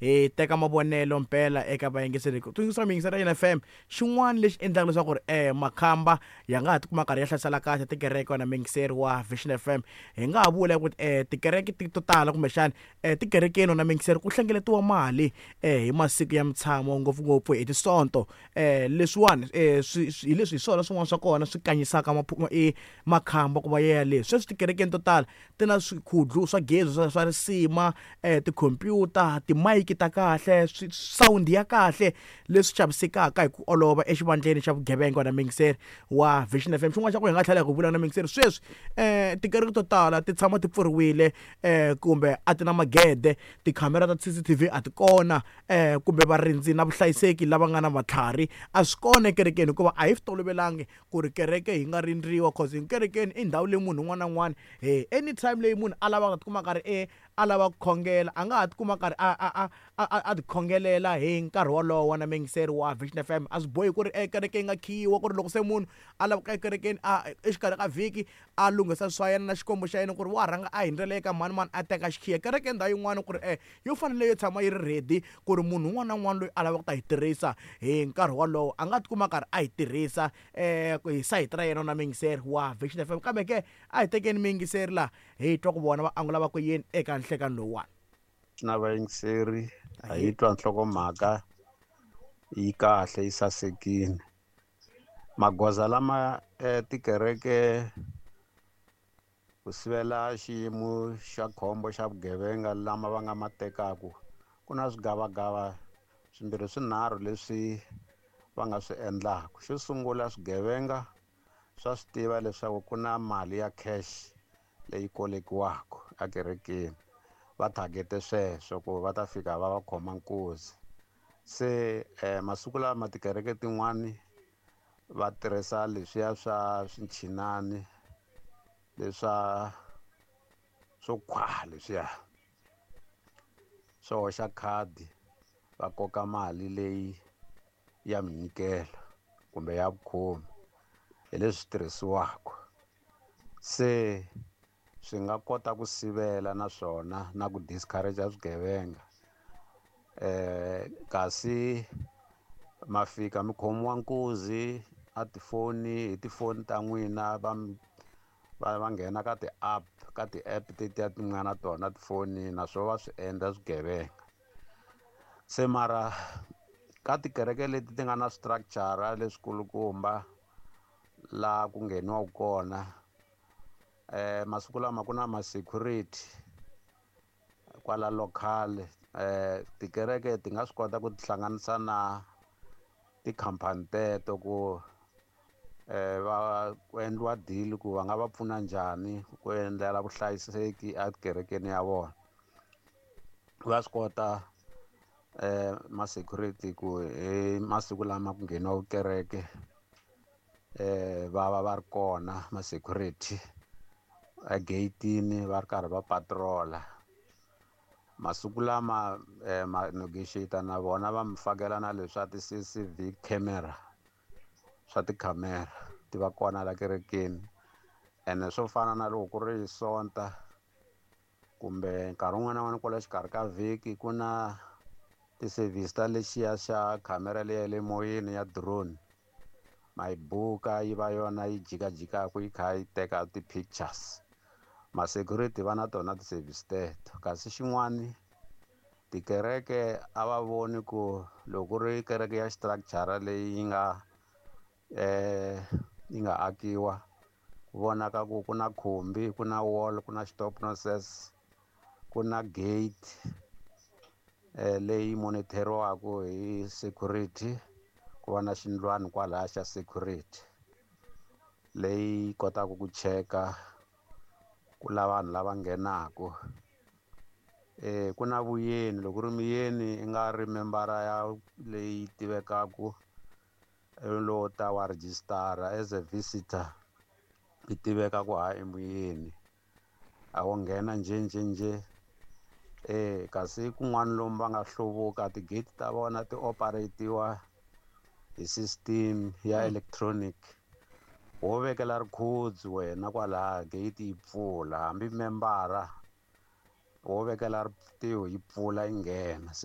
Hi teka mavonelo mpela eka vayingiseri. Ku tsundzuxa miyingiseri ya FM, xin'wana lexi endlaka leswaku ri makhamba ya nga ha tikuma karhi ya hlasela kahle tikereke, wena muyingiseri wa Vision FM, hi nga ha vula ku tikereke to tala kumbexani tikerekeni, wena muyingiseri, ku hlengeletiwa mali hi masiku ya mutshamo, ngopfungopfu hi Tisonto. Leswiwani hi leswi hi swona swin'wana swa kona swi kanyisaka makhamba ku va ya le. Sweswi tikerekeni to tala ti na swikhudlu swa gezi swa risima, tikhompyuta, timayiki ta kahle, sound ya kahle, leswi xavisekaka hi ku olova exivandleni xa vugevenga, na muyingiseri wa Vision FM. Xin'wana xa ku hi nga tlhela hi ku vula na muyingiseri, sweswi tikereke to tala ti tshama ti pfuriwile kumbe a ti na magede, tikhamera ta CCTV a ti kona, kumbe varindzi na vuhlayiseki lava nga na matlhari a swi kona ekerekeni, hikuva a hi swi tolovelangi ku ri kereke yi nga rindziwa, cause kerekeni i ndhawu leyi munhu un'wana na un'wana he anytime leyi munhu a lavaka tikuma karhi a lava ku khongela, a nga ha tikuma karhi a ti khongelela hi nkarhi wolowo. Na muyingiseri wa Vision FM, a swi bohi ku ri ekereke yi nga khiyiwa, ku ri loko se munhu a lava ku ekerekeni a exikarhi ka vhiki a lunghisa swa yena na Xikwembu xa yena, ku ri wa rhanga a hundzela eka mani mani a teka xikhiya. Kereke ndhawu yin'wana ku ri yo fanele yo tshama yi ri ready, ku ri munhu un'wana na un'wana loyi a lavaka ku ta yi tirhisa hi nkarhi wolowo a nga tikuma karhi a yi tirhisa hi sayiti ra yena, na muyingiseri wa Vision FM. Kambe ke a hi tekeni muyingiseri laha, hi twa ku vona va angula va ku yini eka nhlekani lowuwani. Na vayingiseri, a hi twa nhlokomhaka yi kahle, yi sasekile. Magoza lama tikereke ku sivela xiyimo xa khombo xa vugevenga lama va nga ma tekaku, ku na swigavagava swimbirhi swinharhu leswi va nga swi endlaka. Xo sungula, swigevenga swa swi tiva leswaku ku na mali ya cash leyi kolekiwaka ekerekeni, va target sweswo ku va ta fika va va khoma nkuzi. Se masiku lama tikereke tin'wani va tirhisa leswiya swa swinchinani leswa swo khwa, leswiya swo hoxa khadi va koka mali leyi ya minyikelo kumbe ya vukhomi, hi leswi tirhisiwaka. Se swi nga kota ku sivela naswona na ku discourage swigevenga. Kasi ma fika mi khomiwa nkuzi a tifoni, hi tifoni ta n'wina, va nghena ka ti-app, ka ti-app tetiya ti nga na tona tifoni, naswona va swi endla swigevenga. Se mara ka tikereke leti ti nga na structure leswikulukumba laha ku ngheniwaka kona, masiku lama ku na ma-security kwala local. Tikereke ti nga swi kota ku tihlanganisa na tikhampani teto ku va ku endliwa deal ku va nga va pfuna njhani ku endlela vuhlayiseki ekerekeni ya vona. Va swi kota ma-security ku hi masiku lama ku ngheniwa kereke va va va ri kona ma-security egeyitini, va ri karhi va patrola. Masiku lama ma negotiate na vona, va mi fakela na leswa ti-CCV camera, swa tikhamera ti va kona la kerekeni. Ene swo fana na loko ku ri Sonta kumbe nkarhi wun'wana na wun'wana kwala xikarhi ka vhiki, ku na ti-service ta lexiya xa khamera leya le moyeni ya drone, ma yi buka, yi va yona yi jikajikaka yi kha yi teka ti-pictures. Ma-security va na tona ti-service teto. Kasi xin'wani, tikereke a va voni ku loko ku ri kereke ya structure leyi yi nga akiwa, ku vonaka ku ku na khumbi, ku na wall, ku na stop process, ku na gate leyi monitoriwaka hi security, ku va na xindlwani kwalaya xa security leyi kotaka ku cheka ku la vanhu lava nghenaku. Ku na vuyeni, loko ri muyeni i nga ri membara ya leyi tivekaku, lowo ta wa rejistara as a visitor, i tiveka ku ha i muyeni, a wo nghena njhe njhe njhe. Kasi kun'wana lomu va nga hluvuka, tigate ta vona ti operatiwa hi system ya electronic, wo vekela rikhudzu wena kwalaya, gate yi pfula, hambi membara wo vekela ritiho yi pfula yi nghena.